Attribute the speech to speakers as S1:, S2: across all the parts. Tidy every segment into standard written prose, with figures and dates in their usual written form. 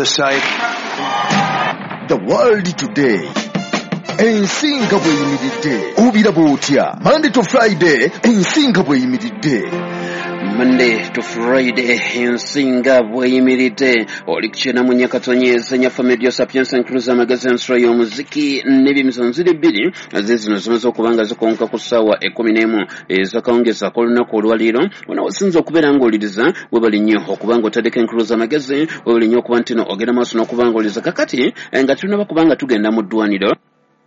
S1: The site.
S2: The World Today, ensi nga bw'eyimiridde. Obiraba otya? Monday to Friday, ensi nga bw'eyimiridde.
S3: Monday to Friday, ensi nga bweyimiridde. Oli kukyena mu nyakatonyeza nyaffe Medio Sapiensa, nkuluza amagezi, ensolo y'omuziki n'ebyemizano. Ziri bbiri zizino zimaze okuba nga zikonka ku ssaawa 11 ezakawungezi ak'olunaku olwaleero. Wona wasinza okubeera ng'oliriza, webali nnyo okuba nga otaddeko enkuluza amagezi, webali nnyo okuba nti no ogenda maaso n'okuba ng'oliriza. Kakati nga tunaba kubanga tugenda mu ddwaniro,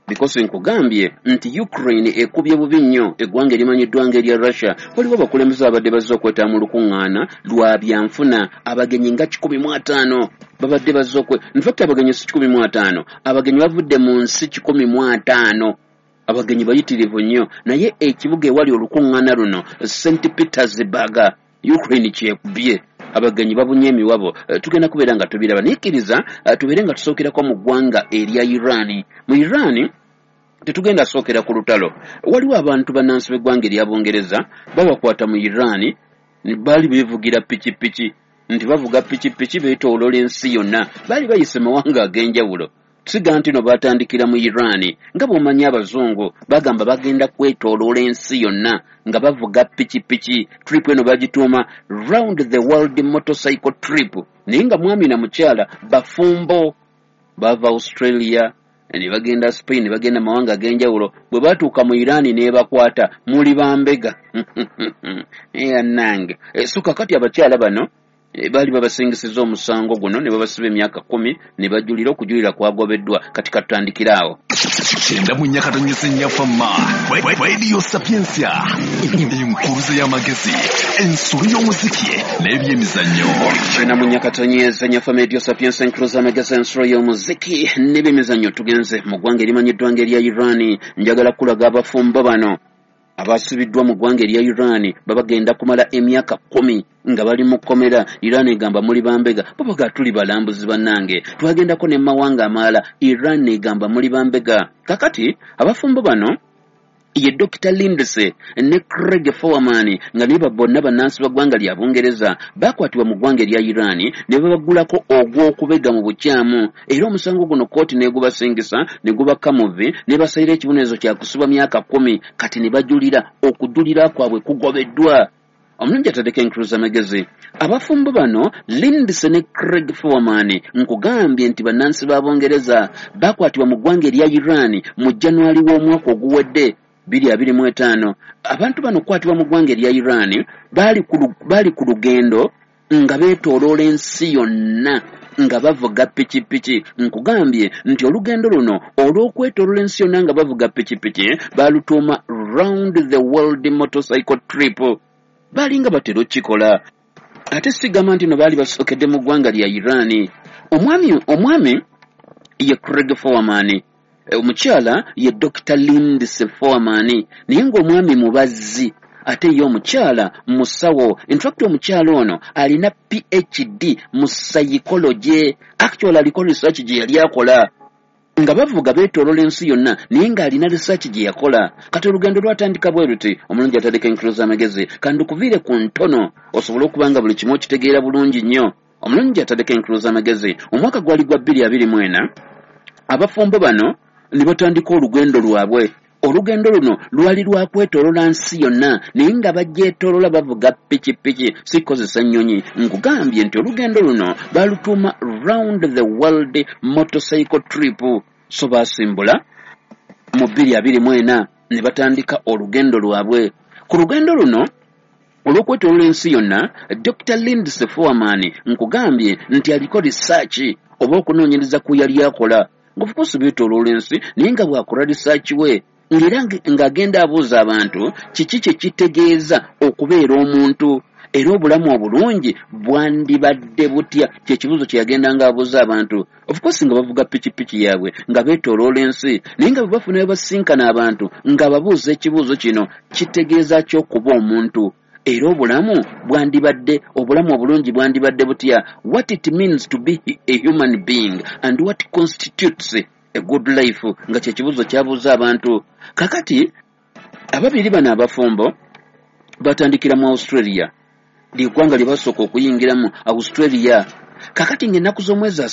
S3: because nkugambye nti Ukraine ekubye bubi nnyo eggwanga erimanyiddwa ng'erya Russia. Waliwo abakulembeze abadde bazze okwetaba mu lukuŋŋaana lwa byanfuna, abagenyi nga 150 babadde bazze okwe, infact abagenyi si 150, abagenyi bavudde mu nsi 150. Abagenyi bayitirivu nnyo, naye ekibuga ewali olukuŋŋaana luno, St Petersburg, Ukraine kyekubye, abagenyi babunye emiwabo. Tugenda kubeera nga tubiraba, naye kkiriza tubeere nga tusookerako mu ggwanga erya Iran. Mu Iran tetugenda sookera ku lutalo. Waliwo abantu bannansi b'eggwanga erya Bungereza babakwata mu Iran, baali beevugira pikipiki, nti bavuga pikipiki beetooloola ensi yonna, baali bayise mawanga ag'enjawulo. Siga nti no batandikira mu Iran. Nga bw'omanyi abazungu bagamba bagenda kwetooloola ensi yonna nga bavuga pikipiki. Trip eno bagituuma Round the World Motorcycle Trip, naye nga mwami na mukyala bafumbo bava Australia ne bagenda Spain, ne bagenda mawanga ag'enjawulo. Bwe batuuka mu Iran n'ebakwata, muli bambega nange. So kakati abakyala bano baali babasingisiza omusango guno ne babasiba emyaka 10 ne bajulira, okujulira kwagobeddwa. Kati katutandikire awo.
S2: 94.4 Fama Radio Sapiensia, enkuluze y'amagezi, ensolo y'omuziki n'ebyemizannyo.
S3: 94.4 Fama Radio Sapiensia, enkuluze y'amagezi, ensolo y'omuziki n'ebyemizannyo. Tugenze mu ggwanga erimanyiddwa ng'erya Iran. Njagala kulaga abafumbo bano abasibiddwa mu ggwanga erya Iran, babagenda kumala emyaka 10 nga bali mu kkomera. Iran egamba muli bambega, babaga tuli balambuzi bannange, twagendako ne mawanga amalala. Iran egamba muli bambega. Kakati abafumbo bano ye Dr Lindsay ne Craig Foreman, nga naye bonna bannansi ba ggwanga lya Bungereza, bakwatibwa mu ggwanga erya Iran ne babagulako ogw'okubega mu bukyamu, era omusango guno kkooti n'egubasingisa ne gubakka muvi ne basalira ekibonerezo kya kusibwa myaka 10. Kati ne bajulira, okujulira kwabwe kugobeddwa. Omulungi ataddeko enkuluza amagezi, abafumbo bano Lindsay ne Craig Foreman, nkugambye nti bannansi ba Bungereza, bakwatibwa mu ggwanga erya Iran mu January w'omwaka oguwedde 2025. Abantu bano okukwatibwa mu ggwanga erya Iran, baali ku lugendo nga beetooloola ensi yonna nga bavuga pikipiki. Nkugambye nti olugendo luno olw'okwetooloola ensi yonna nga bavuga pikipiki balutuuma Round the World Motorcycle Trip. Baalinga batera okukikola, ate sigamba nti no baali basookedde mu ggwanga lya Iran. Omwami ye Craig Foreman, omukyala ye Dr Lindsay Foreman, naye ng'omwami mubazzi ate ye omukyala musawo. Infact omukyala ono alina PhD mu psychology. Actually aliko research gye yali akola nga bavuga beetoolola ensi yonna, naye ng'alina research gye yakola. Kati olugendo lwatandika bwe luti. Omulungi ataddeko enkuluza amagezi, kandukuviire ku ntono osobole okuba nga buli kimu okitegeera bulungi nnyo. Omulungi ataddeko enkuluza amagezi, omwaka gwali gwa 2024. Abafumbo bano ne batandika olugendo lwabwe. Olugendo luno lwali lwa kwetoolola nsi yonna, naye nga bagyetoolola bavuga pikipiki, si kukozesa nnyonyi. Nkugambye nti olugendo luno balutuuma Round the World Motorcycle Trip. So baasimbula mu 2024 ne batandika olugendo lwabwe. Ku lugendo luno olw'okwetoolola ensi yonna, Dr Lindsay Foreman, nkugambye nti aliko research oba okunoonyereza ku yali akola, of course beetooloola ensi, naye nga bw'akola research we ng'era ng'agenda abuuza abantu kiki kye kitegeeza okubeera omuntu, era obulamu obulungi bwandibadde butya, kyekibuuzo kye yagenda ng'abuuza abantu. Of course nga bavuga pikipiki yaabwe nga beetooloola ensi, naye nga bwe bafunayo basinkana abantu nga babuuza ekibuuzo kino: kitegeeza ki okuba omuntu, era obulamu bwandibadde, obulamu obulungi bwandibadde butya? What it means to be a human being and what constitutes a good life, nga kyekibuuzo kyabuuza abantu. Kakati ababiri bano abafumbo batandikira mu Australia, lyeggwanga lye basooka okuyingiramu, Australia. Kakati ng'ennaku z'omwezi 30